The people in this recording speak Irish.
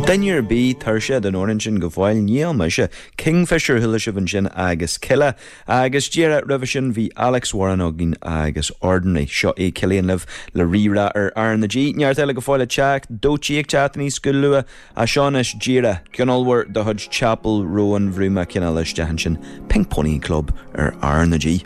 Duine ar bith tuirseach den amhrán sin go fóill? Níl mise. Kingfisher chuala sibh ansin agus Kila. Agus díreach roimhe sin bhí Alex Warren againn agus Ordinary. Seo é Cillian libh le Rí-Rá ar R na G. Neart eile go fóill ag teacht, Doechii ag teacht aníos go luath. Ach seo anois díreach, ceann ollmhór de chuid Chappell Roan, bhrúigh mé cineál isteach ansin, Pink Pony Club ar R na G.